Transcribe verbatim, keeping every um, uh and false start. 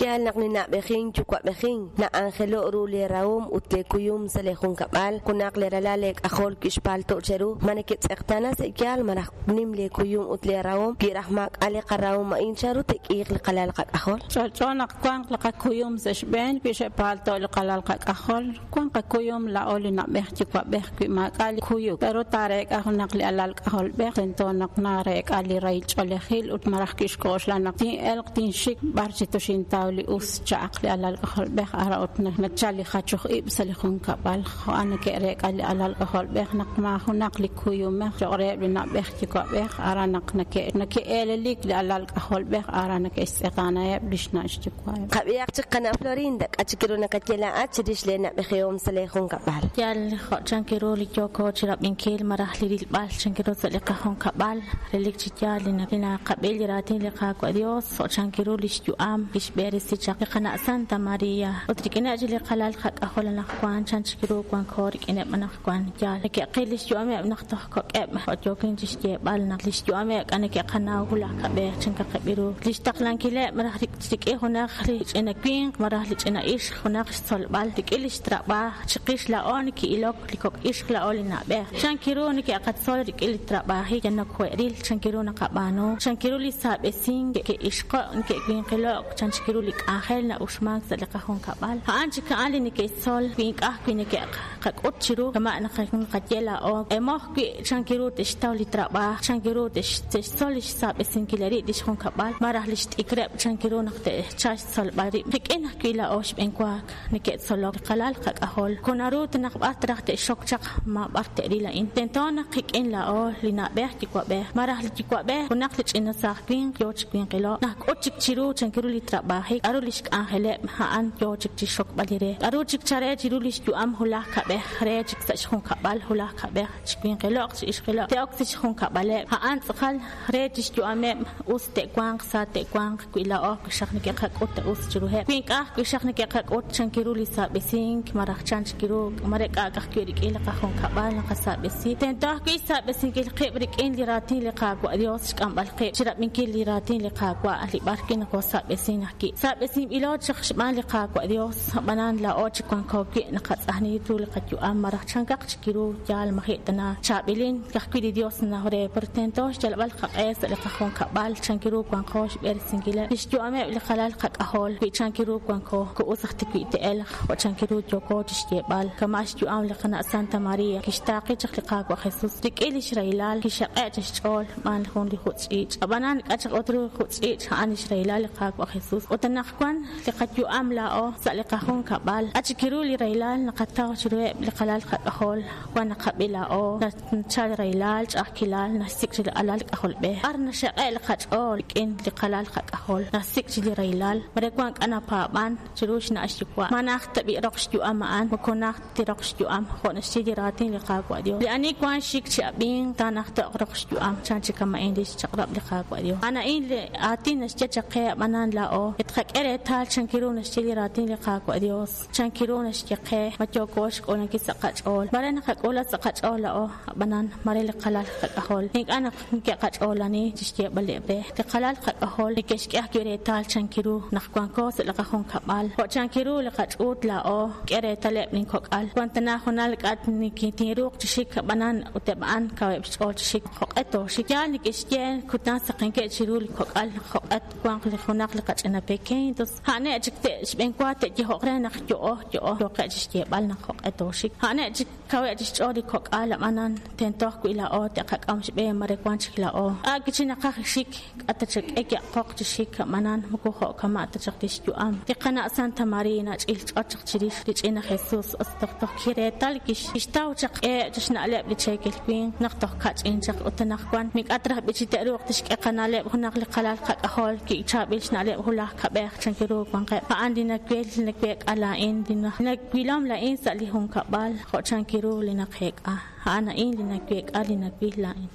Yaal naq li na'b'ejin yuwa'b'ejin na'anjelo' ru li rahom ut li kuyum sa' li junkab'al junaq li ralal li k'ajol kixpalto' cheru ma neketz'eqtaana sa' yaal malaj nim li kuyum ut li rahom wi raj maak'a' li qarahom a'in chanru te'k'iiq li qalal qak'ajol. Ch'olch'o naq wanq li qakuyum sa' xb'een wi xe'palto' li qalal qak'ajol wanq qakuyum la'o li na'b'ej yuwa'b'ej wi maak'a' li kuyuk pero taareek'a junaq li alal k'ajolb'ej tento naq nareek'a li rahil ch'oolejil ut malaj kixk'oxla naq tin'elq tinxik b'ar chi toxintaw li us cha'aq li alal k'ajolb'ej ara ut nachal li jachoj ib' sa' li junkab'al jo'an neke'reek'a li alal k'ajolb'ej naq maajunaq li kuyumej cho'q reheb' li na'b'ej yuwa'b'ej ara naq nake' nake'eelelik li alal k'ajolb'ej ara neke'xtz'eqtaanaheb' li xna' xyuwa'eb'. Qab'ihaq chik qana' Florinda k'a chik ru nakaye laa'at chirix li na'b'ejihom sa' li junkab'al. Yaal jo' chank ru li yooko chirab'inkil malaj li rilb'al chank ru sa' li qajunkab'al relik chi yaal li naqab'il li raatin li Qaawa' Dios jo' chank ru li xyu'am kixb'eresi chaq li qana' Santa Maria ut rik'ineb' chi li qalal qak'ajol anaqwan chan chik ru wanko rik'ineb' anaqwan yaal neke'qil li xyu'ameb' naq toj kok'eb' jo' yookin chi xyeeb'al naq li xyu'ameb' k'a neke'qanaw hulaj kab'ej chan kaqeb'i ru li xtaqlankileb' malaj rik'in junaq li ch'ina winq malaj li ch'ina ixq junaq xtzolb'al rik'in li xtrab'aaj chiqix la'o neke'ilok li kok' ixq la'o li na'b'ej chan ru neke'qatzol rik'in li trab'aajik yanok jo'eril chan ru naqab'aanu chan ru li saab'esink ke'ixqo' neke'winqilo'q chan ru li k'anjel na'uxmank sa' li qajunkab'al a'an chik a'an li neke'xtzol wi ink'aj wi neke'qak'ut chiru kama' naqaye la'o emoj wi chan ru te'xtaw li trab'aaj chan ru te'xtzol li xsaab'esinkil rib' li xjunkab'al malaj li xt'ikreb' chan ru naq te'chal xtzolb'al rib' rik'in ajwi' la'o xb'enwaak neke'tzolok qalal qak'ajol konaru naq b'ar traj te'xok chaq ma b'ar te'ril a'in tento naq qik'in la'o li na'b'ej yuwa'b'ej malaj li yuwa'b'ej junaq li ch'ina saaj winq yoo chi winqilo' naq k'ut chik chiru chan ru li trab'aajik k'aru li xk'anjeleb' a'an yoo chik chi xokb'al li re k'aru chik chare chiru li xyu'am hulaj kab'ej re chik sa' xjunkab'al hulaj kab'ej chi winqilo'q chi ixqilo'q te'ok sa' xjunkab'aleb' a'an tz'aqal re chi xyu'ameb' us te'wanq sa te'wanq wi la'o xaq neke'qak'ut us chiruheb' wi ink'aj wi xaq neke'qak'ut chan ru li saab'esink malaj chan chik ru mare k'a'k ajwi' rik'in li qajunkab'al naqasaab'esi tento ajwi' xsaab'esinkil qib' rik'in li raatin li Qaawa' Dios xk'amb'al qib' chirab'inkil li raatin li Qaawa' li b'ar wi naqosaab'esin ajwi' saab'esinb'ilo chaq xb'aan li Qaawa' Dios ab'anan la'o chi wanko wi' naqatz'ajni ru li qayu'am malaj chankaq chik ru yaal maji' tana chaab'ilin kajwi' li Dios naj re pero tento xyalb'al qaq'e sa' li qajunkab'al chan ru wanko xb'eresinkileb' li xyu'ameb' li qalal qak'ajol wi chan ru wanko ku'us aj tiwi' te'elq jo' chan ru yooko chi xyeeb'al kama' xyu'am li qana' Santa Maria kixtaaqi chaq li Qaawa' Jesus rik'in li xrahilal kixaq'e' chi xch'ool b'aan jun li jutz'ch'iich' ab'anan k'a chaq ut ru jutz'ch'iich' a'an li xrahilal li Qaawa' Jesus ut anaqwan li qayu'am la'o sa' li qajunkab'al k'a chik ru li rahilal naqataw chiruheb' li qalal qak'ajol wan naqab'i la'o nachal rahilal ch'a'ajkilal naxsik' chi li alal k'ajolb'ej b'ar naxaq'e' li qach'ool rik'in li qalal qak'ajol nasik' chi li rahilal mare wan k'a napaab'an chiru xna' xyuwa' ma naj tab'i roq xyu'am a'an moko naj tiroq xyu'am jo' naxye li raatin li Qaawa' Dios li ani wan xik chi ab'in taanaj to'q roq xyu'am chan chik kama'in li xchaq'rab' li Qaawa' Dios a'an a'in li aatin naxye chaq qe ab'anan la'o etqak'e reetal chan ru naxye li raatin li Qaawa' Dios chan ru naxye qe ma yooko xk'uulankil sa' qach'ool mare naqak'uula sa' qach'ool la'o ab'anan mare li qalal qak'ajol ink'a' naq neke'qach'oolani chi xyeeb'aleb' re li qalal qak'ajol neke'xk'e ajwi' reetal chan ru naq wanko sa' li qajunkab'al jo' chan ru li qach'uut la'o k'e reetaleb' linkok'al wan tana junal k'at tinruuq chi xik ab'anan ut eb' a'an kaweb' xch'ool chi xik jo'q'e tooxik yaal neke'xye kutan saqenkeb' chiru li kok'al jo'q'e wanq li junaq li qach'ina pequeño entonces a'ne' chik te'xb'enwa te'yejo'q re naq yo'o yo'o yooqe' chi xyeeb'al naq jo'q'e tooxik a'ne' chik kaweb' chi xch'ool li kok'al ab'anan tento ajwi' la'o te'qak'am xb'een mare wan chik la'o a' kichi naqaj xik k'ata chak'e ya'qoq chi xik ab'anan moko jo' kama' ta chaq li xyu'am li qana' Santa Maria nach'il ch'och chaq chirix li ch'ina Jesus os toj toj kireetal kixtaw chaq e' chi xna'leb' li cheekel winq naq toj kach'in chaq ut anaqwan mik'at raj b'i chi te'ruuq tixk'e qana'leb' junaq li qalal qak'ajol ki'chaab'il xna'leb' hulaj kab'ej chan ru wanqeb' a'an li nawel li naweek'a la'in li nawilom la'in sa' li junkab'al jo' chan ru li naqeek'a a'an a'in li naweek'a li nawil la'in.